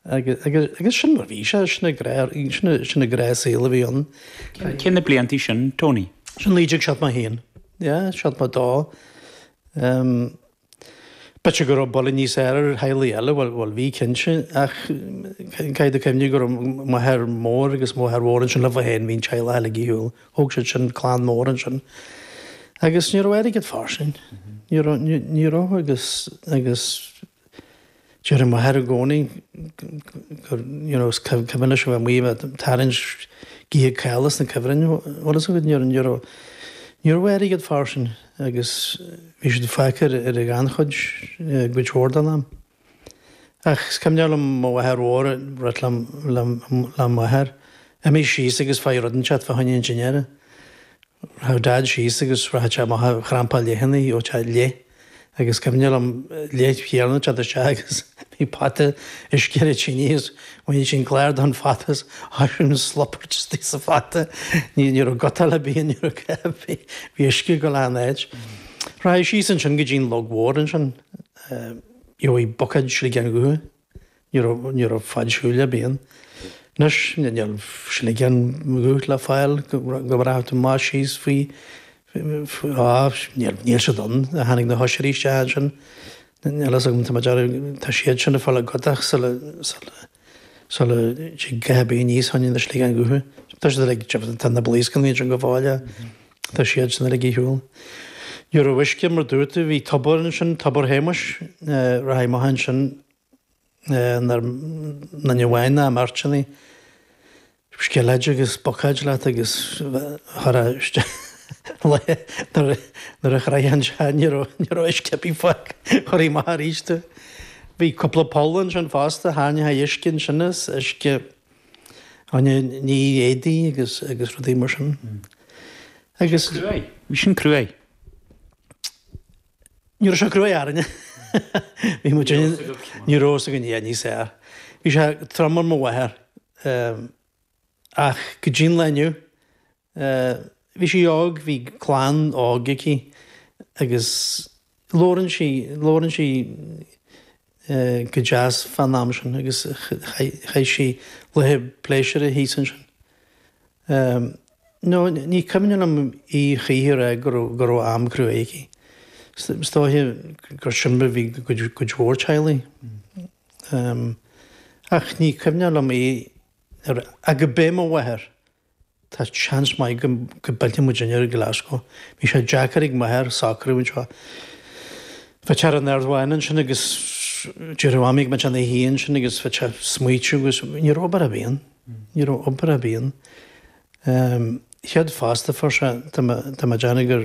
Agus, agus, agus sin mar bhí sé, sin an gnáth, sin, sin an gnáthshaol a bhí ann. Cé na bliantaí sin, Tony? Sin 1971, yeah, 72. Um, B'fhéidir go raibh buille níos fearr ar theaghlaigh eile, bhuel, bhuel bhí cinnte, ach caithfidh tú cuimhneamh go raibh m'athair mór agus mo mháthair mhór ansin leo féin, bhí an teaghlach uilig ar shiúl, thóg siad sin clann mór ansin. Agus ní raibh airgead fairsing, ní raibh, ní raibh agus, agus Deireadh m'athair i gcónaí gur, you know, is cuimhin leis a bheith amuigh ag tarraingt githe caola sna cuibhrinn, bhfuil fhios agat, ní raibh, ní raibh, ní raibh airgead fairsing agus bhí siad fágtha ar an ghannchuid cuid mhór den am. Ach is cuimhneach liom mo mháthair mhór ag ráit le, le, le m'athair, imigh síos agus faigh rud inteacht fá choinne an dinnéara. Rachadh Dad síos agus rachadh sé amach a chrampáil leathanna, gheobhadh sé leith agus cuimhne liom leith chéanna teacht isteach agus bhí pota uisce ar an tine agus bhainfeadh sé an clár den phota is thoisigh an slobairt istigh sa phota. Ní raibh gutáil ar bith, ní raibh a dhath ar bith, bhí uisce ag dul achan áit. Rachadh síos ansin go dtí an Log Mhór ansin, gheobhaidh buicéad sligeán dhubh. Ní raibh, ní raibh fad siúil ar bith ann. Anois, níl sligeán dhubh le fáil go rachadh tú amach síos faoi, á, níl, níl siad ann. Tháinig na hoiseirí isteach ansin. Níl fhios agam, tá mé ag déanamh, tá siad sin ag fáil a gcodach sula, sula, sula dtig a dhath ar bith aníos fá choinne na sligeáin dhubha. Tá siad uilig, tá na blaoscanna ansin go fóill. Tá siad sin uilig ar shiúl. Ní raibh uisce mar dúirt tú, bhí tobar ansin, Tobar Shéamuis, rachaidh amach ansin nuair duine amháin ná i mbeirteanna, sceileid agus buicéid leat agus chuirfeá nuair a chroitheann sé ní raibh ní raibh uisce ar bith fágtha, chuirfí amach arís tú. Bhí cúpla poll ansin fosta, tharraingeofaí uisce ansin as uisce Rinne ní éadaí agus agus rudaí mar sin. Agus. Cruaidh. Bhí sin cruaidh. Ní raibh sé cruaidh orainne. Bhí muid ní raibh fhios againn yeah níos fearr. Bhí sé trom ar mo mháthair ach go dtí an lá inniu Bhí sí óg, bhí clann óg aici agus labhrann sí, labhrann sí go deas fán am sin agus chaith sí laetha pléisiúrtha thíos ansin. No, ní cuimhin liom í choíche a rá go raibh, go raibh am cruaidh aici. Is dóiche gur sin mar a bhí i gcuid mhór teaghlaigh. Ach ní cuimhneach liom í, ach go b'é mo mháthair Tá seans maith go bpillfidh muidinne ar Glasgow. Bhí sé deacair ag m'athair socrú anseo. Bheadh sé ar an Aird Bháin ansin agus déarfadh Mamaí go mbeadh sé ina shuí ansin agus bheadh sé ag smaoitiú agus ní raibh obair ar bith ann. Ní raibh obair ar bith ann. Chéad phost a fuair sé, tá mé ag déanamh gur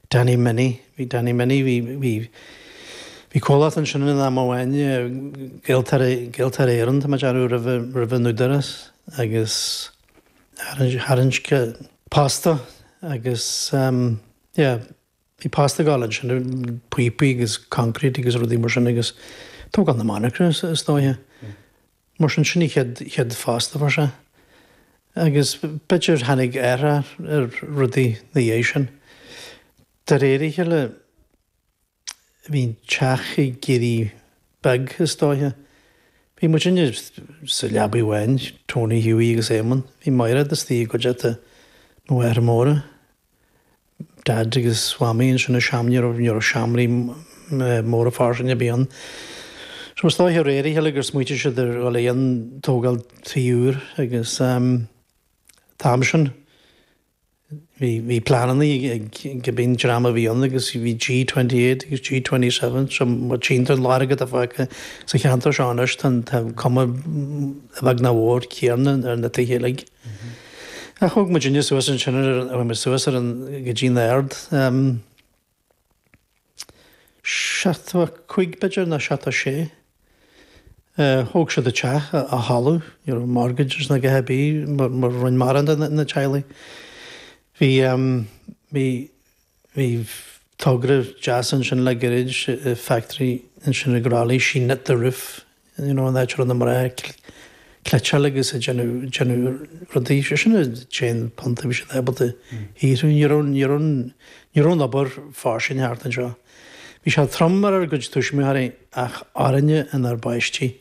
Danny Minnie, bhí Danny Minnie, bhí, bhí, bhí comhlacht ansin in am amháin, Gaeltarra, Gaeltarra Éireann, tá mé ag déanamh roimhe, roimhe an Údarás agus tharraing sé post dó agus yeah, bhí post ag dul ansin, píopaí agus concrete agus rudaí mar sin agus tógáil na monarchana is dóiche. Mar sin, sin an chéad, chéad phost a fuair sé. Agus b'fhéidir tháinig athrú ar rudaí ina dhiaidh sin. De réir a chéile, bhí an teach ag éirí beag, is dóiche. Bhí muidinne sa leabaidh amháin, Tony, Hughie agus Éamonn. Bhí Mairéad istigh i gcuideachta mo mháthar móire. Dad agus Mhamaí ansin i seomra, ní raibh, ní raibh seomraí móra fairsinge ar bith ann. So is dóiche de réir a chéile gur smaoitigh siad ar dhul ag tógáil tí úr agus an t-am sin bhí, bhí pleananna ag cibé an dream a bhí ann agus bhí G28 agus G27 so má tchíonn tú an lorg atá fágtha sa cheantar seo anois tá, tá cuma a bheag nó a mhór céanna ar na tithe uilig. Ach thóg muidinne suas ansin ar an, chuaigh muid suas ar an, go dtí an Aird, 75 b'fhéidir nó 76. Thóg siad an teach ar thalamh, ní raibh mortgages ná a dhath ar bith mar rinne mórán de na teaghlaigh. Bhí, bhí, Bhí togra deas ansin le gairid, factory ansin i gCroithlí, she knit the roof, you know, an áit a raibh na mná ag cleiteáil agus ag déanamh, déanamh rudaí, sé sin an t-aon punt a bhí siad ábalta shaothrú, ní raibh, ní raibh, ní raibh an obair fairsing thart anseo. Bhí sé trom ar ár gcuid tuismitheoirí ach orainne inár bpáistí.